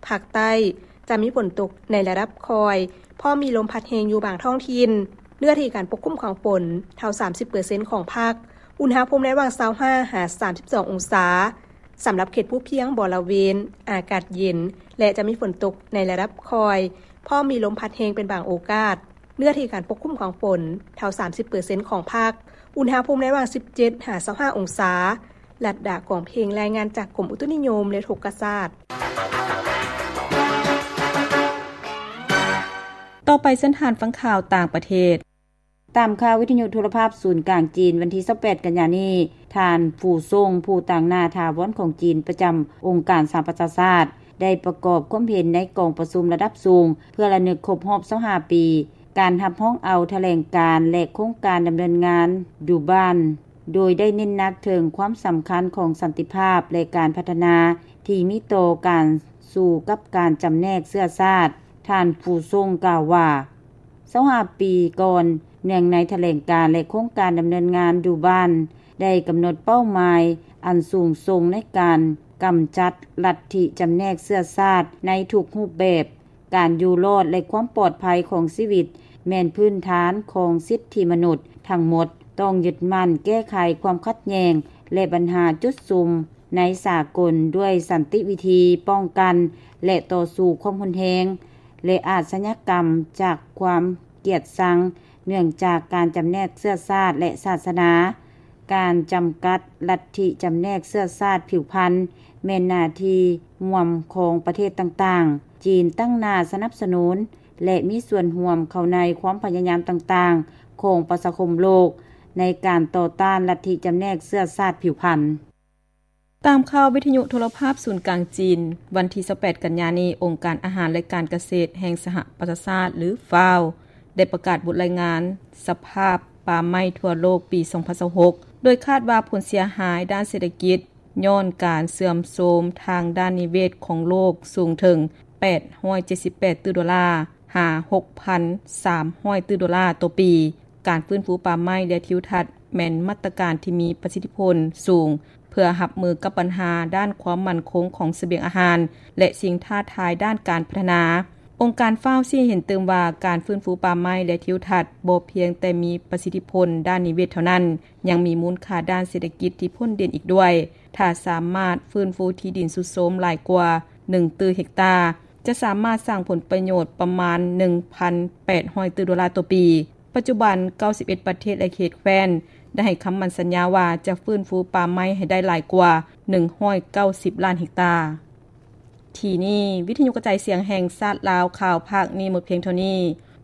ພາກໃຕ້ຈະມີຝົນຕົກໃນລະດັບຄ່ອຍ, ພ້ອມມີລົມພັດແຮງຢູ່ບາງທ້ອງຖິ່ນ. ເນື້ອທີ່ການປົກຄຸມຂອງຝົນເທົ່າສາມສິບເປີເຊັນຂອງພາກ. ອຸນຫະພູມໃນລະຫວ່າງຊາວຫ້າຫາສາມສິບສອງອົງສາ. ສຳລັບເຂດພູພຽງບໍລະເວນ ອາກາດເຢັນ ແລະ ຈະມີຝົນຕົກໃນລະດັບຄ່ອຍ, ພ້ອມມີລົມພັດແຮງເປັນບາງໂອກາດ. ເນື້ອທີ່ການປົກຄຸມຂອງຝົນເທົ່າສາມສິບເປີເຊັນຂອງພາກ. ອຸນຫະພູມໃນລະຫວ່າງສິບເຈັດຫາຊາວຫ້າອົງສາ. ລັດດາ ກອງເພັງ ລາຍງານຈາກກົມອຸຕຸນິຍົມ ແລະ ອຸທົກກະສາດ. ຕໍ່ໄປເຊີນທ່ານຟັງຂ່າວຕ່າງປະເທດ. ຕາມຂ່າວວິທະຍຸໂທລະພາບສູນກາງຈີນ ວັນທີຊາວແປດກັນຍານີ້, ທ່ານ ຟູ ຊົງ ຜູ້ຕາງໜ້າຖາວອນຂອງຈີນປະຈຳອົງການສະຫະປະຊາຊາດ ໄດ້ປະກອບຄວາມເຫັນໃນກອງປະຊຸມລະດັບສູງ ເພື່ອລະນຶກຄົບຮອບຊາວຫ້າປີ ການຮັບຮອງເອົາຖະແຫຼງການ ແລະ ໂຄງການດຳເນີນງານ ດູບານ ໂດຍໄດ້ເນັ້ນໜັກເຖິງຄວາມສຳຄັນຂອງສັນຕິພາບ ແລະ ການພັດທະນາທີ່ມີຕໍ່ການສູ້ກັບການຈຳແນກເຊື້ອຊາດ. ທ່ານ ຟູ ຊົງ ກ່າວວ່າ, ຊາວຫ້າປີກ່ອນ, ເນື່ອງໃນຖະແຫຼງການ ແລະ ໂຄງການດຳເນີນງານ ດູບານ ໄດ້ກຳນົດເປົ້າໝາຍອັນສູງສົ່ງໃນການກຳຈັດລັດທິຈຳແນກເຊື້ອຊາດໃນທຸກຮູບແບບ. ການຢູ່ລອດ ແລະ ຄວາມປອດໄພຂອງຊີວິດ ແມ່ນພື້ນຖານຂອງສິດທິມະນຸດທັງໝົດ. ຕ້ອງຍຶດໝັ້ນແກ້ໄຂຄວາມຂັດແຍ່ງ ແລະ ບັນຫາຈຸດສຸມໃນສາກົນດ້ວຍສັນຕິວິທີປ້ອງກັນ ແລະ ຕໍ່ສູ້ຄວາມຮຸນແຮງ ແລະ ອາດຊະຍາກຳຈາກຄວາມກຽດຊັງ ເນື່ອງຈາກການຈຳແນກເຊື້ອຊາດ ແລະ ສາສະໜາ. ການຈຳກັດລັດທິຈຳແນກເຊື້ອຊາດຜິວພັນ ແມ່ນໜ້າທີ່ຮ່ວມຂອງປະເທດຕ່າງໆ. ຈີນຕັ້ງໜ້າສະໜັບສະໜູນ ແລະ ມີສ່ວນຮ່ວມເຂົ້າໃນຄວາມພະຍາຍາມຕ່າງໆຂອງປະຊາຄົມໂລກ ໃນການຕໍ່ຕ້ານລັດທິຈຳແນກເຊື້ອຊາດຜິວພັນ. ຕາມຂ່າວວິທະຍຸໂທລະພາບສູນກາງຈີນ, ວັນທີຊາວແປດກັນຍານີ້, ອົງການອາຫານ ແລະ ການກະເສດແຫ່ງສະຫະປະຊາຊາດ ຫຼື ຟາວ ໄດ້ປະກາດບົດລາຍງານສະພາບປ່າໄມ້ທົ່ວໂລກປີສອງພັນຊາວຫົກ ໂດຍຄາດວ່າຜົນເສຍຫາຍດ້ານເສດຖະກິດຍ້ອນການເສື່ອມໂຊມທາງດ້ານນິເວດຂອງໂລກສູງເຖິງແປດຮ້ອຍເຈັດສິບແປດຕື້ໂດລາ ຫາ ຫົກພັນສາມຮ້ອຍຕື້ໂດລາຕໍ່ປີ. ການຟື້ນຟູປ່າໄມ້ ແລະ ທິວທັດ ແມ່ນມາດຕະການທີ່ມີປະສິດທິຜົນສູງ ເພື່ອຮັບມືກັບບັນຫາດ້ານຄວາມໝັ້ນຄົງຂອງສະບຽງອາຫານ ແລະ ສິ່ງທ້າທາຍດ້ານການພັດທະນາ. ອົງການຟາວຊີ້ເຫັນຕື່ມວ່າ ການຟື້ນຟູປ່າໄມ້ ແລະ ທິວທັດ ບໍ່ພຽງແຕ່ມີປະສິດທິຜົນດ້ານນິເວດເທົ່ານັ້ນ, ຍັງມີມູນຄ່າດ້ານເສດຖະກິດທີ່ພົ້ນເດັ່ນອີກດ້ວຍ. ຖ້າສາມາດຟື້ນຟູທີ່ດິນຊຸດໂຊມຫຼາຍກວ່າໜຶ່ງຕື້ເຮັກຕາ, ຈະສາມາດສ້າງຜົນປະໂຫຍດປະມານໜຶ່ງພັນແປດຮ້ອຍຕື້ໂດລາຕໍ່ປີ. ປັດຈຸບັນ ເກົ້າສິບເອັດປະເທດ ແລະ ເຂດແຄວ້ນ ໄດ້ໃຫ້ຄຳໝັ້ນສັນຍາວ່າຈະຟື້ນຟູປ່າໄມ້ໃຫ້ໄດ້ຫຼາຍກວ່າໜຶ່ງຮ້ອຍເກົ້າສິບລ້ານເຮັກຕາ. ທີ່ນີ້ ວິທະຍຸກະຈາຍສຽງແຫ່ງຊາດລາວ ຂ່າວພາກນີ້ໝົດພຽງເທົ່ານີ້.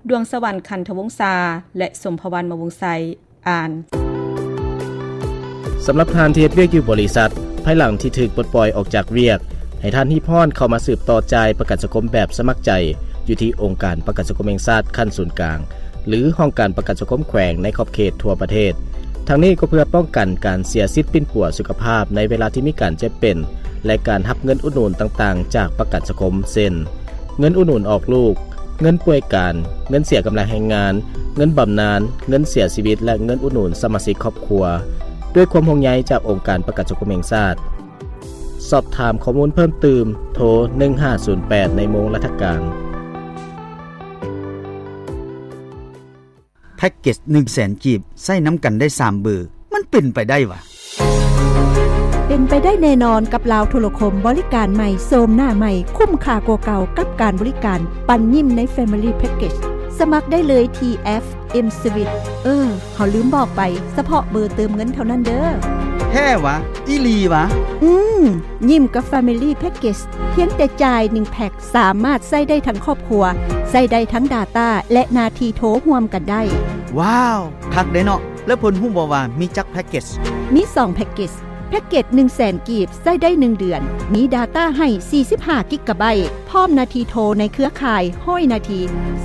ດວງສະຫວັນ ຄັນທະວົງສາ ແລະ ສົມພະວັນ ມະວົງໄຊ ອ່ານ. ສຳລັບທ່ານທີ່ເຮັດວຽກຢູ່ບໍລິສັດ, ພາຍຫຼັງທີ່ຖືກປົດປ່ອຍອອກຈາກວຽກ, ໃຫ້ທ່ານຮີບຮ້ອນເຂົ້າມາສືບຕໍ່ຈ່າຍປະກັນສັງຄົມແບບສະໝັກໃຈ ຢູ່ທີ່ອົງການປະກັນສັງຄົມແຫ່ງຊາດຂັ້ນສູນກາງ ຫຼື ຫ້ອງການປະກັນສັງຄົມແຂວງໃນຂອບເຂດທົ່ວປະເທດ. ທັງນີ້ກໍເພື່ອປ້ອງກັນການເສຍສິດປິ່ນປົວສຸຂະພາບໃນເວລາທີ່ມີການເຈັບເປັນ ແລະ ການຮັບເງິນອຸດໜູນຕ່າງໆຈາກປະກັນສັງຄົມ ເຊັ່ນ ເງິນອຸດໜູນອອກລູກ, ເງິນປ່ວຍການ, ເງິນເສຍກຳລັງແຮງງານ, ເງິນບຳນານ, ເງິນເສຍຊີວິດ ແລະ ເງິນອຸດໜູນສະມາຊິກຄອບຄົວ. ດ້ວຍຄວາມຫ່ວງໃຍຈາກອົງການປະກັນສັງຄົມແຫ່ງຊາດ. ສອບຖາມຂໍ້ມູນເພີ່ມຕື່ມ, ໂທ ໜຶ່ງຫ້າສູນແປດ ໃນໂມງລັດຖະການ. ແພັກເກັດໜຶ່ງແສນກີບ ໃຊ້ນຳກັນໄດ້ສາມເບີ ມັນເປັນໄປໄດ້ຫວາ? ເປັນໄປໄດ້ແນ່ນອນກັບລາວໂທລະຄົມ ບໍລິການໃໝ່ ໂສມໜ້າໃໝ່ ຄຸ້ມຄ່າກວ່າເກົ່າກັບການບໍລິການ ປັນຍິ້ມໃນ Family Package. ສະໝັກໄດ້ເລີຍທີ່ແອັບ M-Sweet. ເອີ ເຮົາລືມບອກໄປ, ສະເພາະເບີເຕີມເງິນເທົ່ານັ້ນເດີ. ແທ້ຫວາ? ອີ່ຫຼີຫວາ? ອືມ, ຍິ້ມກັບ Family Package ພຽງແຕ່ຈ່າຍໜຶ່ງແພັກ ສາມາດໃຊ້ໄດ້ທັງຄອບຄົວ, ໃຊ້ໄດ້ທັງ Data ແລະ ໜ້າທີ່ໂທຮ່ວມກັນໄດ້. ວ້າວ, ຄັກເດ້ເນາະ. ແລ້ວເພິ່ນຮູ້ບໍ່ວ່າມີຈັກແພັກເກັດ? ມີສອງແພັກເກັດ. ແພັກເກັດໜຶ່ງແສນກີບ ໃຊ້ໄດ້ໜຶ່ງເດືອນ, ມີ Data ໃຫ້ສີ່ສິບຫ້າກິກກະໄບຕ໌ ພ້ອມໜ້າທີ່ໂທໃນເຄືອຂ່າຍຮ້ອຍນາທີ,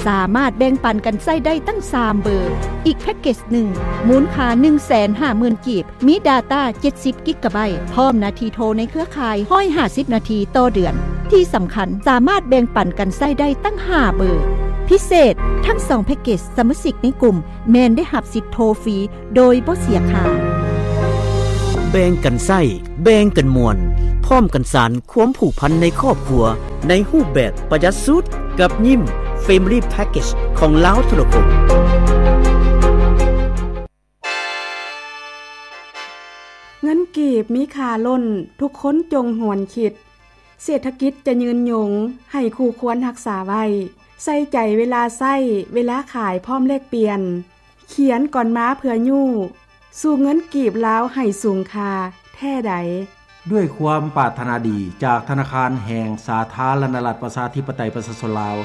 ສາມາດແບ່ງປັນກັນໃຊ້ໄດ້ຕັ້ງສາມເບີ. ອີກແພັກເກັດໜຶ່ງ ມູນຄ່າໜຶ່ງແສນຫ້າໝື່ນກີບ, ມີ Data ເຈັດສິບກິກກະໄບຕ໌ ພ້ອມໜ້າທີ່ໂທໃນເຄືອຂ່າຍຮ້ອຍຫ້າສິບນາທີຕໍ່ເດືອນ. ທີ່ສຳຄັນ, ສາມາດແບ່ງປັນກັນໃຊ້ໄດ້ຕັ້ງຫ້າເບີ. ພິເສດ, ທັງສອງແພັກເກັດ ສະມາຊິກໃນກຸ່ມແມ່ນໄດ້ຮັບສິດໂທຟຣີໂດຍບໍ່ເສຍຄ່າ. ແບ່ງກັນໃຊ້ ແບ່ງກັນມ່ວນ ພ້ອມກັນສານຄວາມຜູກພັນໃນຄອບຄົວ ໃນຮູບແບບປະຢັດສຸດ ກັບຍິ້ມ Family Package ຂອງລາວໂທລະຄົມ. ເງິນກີບມີຄ່າລົ້ນ ທຸກຄົນຈົ່ງຫວນຄິດ ເສດຖະກິດຈະຍືນຍົງ ໃຫ້ຄູ່ຄວນຮັກສາໄວ້ ໃສ່ໃຈເວລາໃຊ້ ເວລາຂາຍພ້ອມແລກປ່ຽນ ຂຽນກ່ອນມາເພື່ອຍູ້ ສູ້ເງິນກີບລາວໃຫ້ສູງຄ່າແທ້ໃດ. ດ້ວຍຄວາມປາດຖະໜາດີ ຈາກທະນາຄານແຫ່ງສາທາລະນະລັດ ປະຊາທິປະໄຕ ປະຊາຊົນລາວ.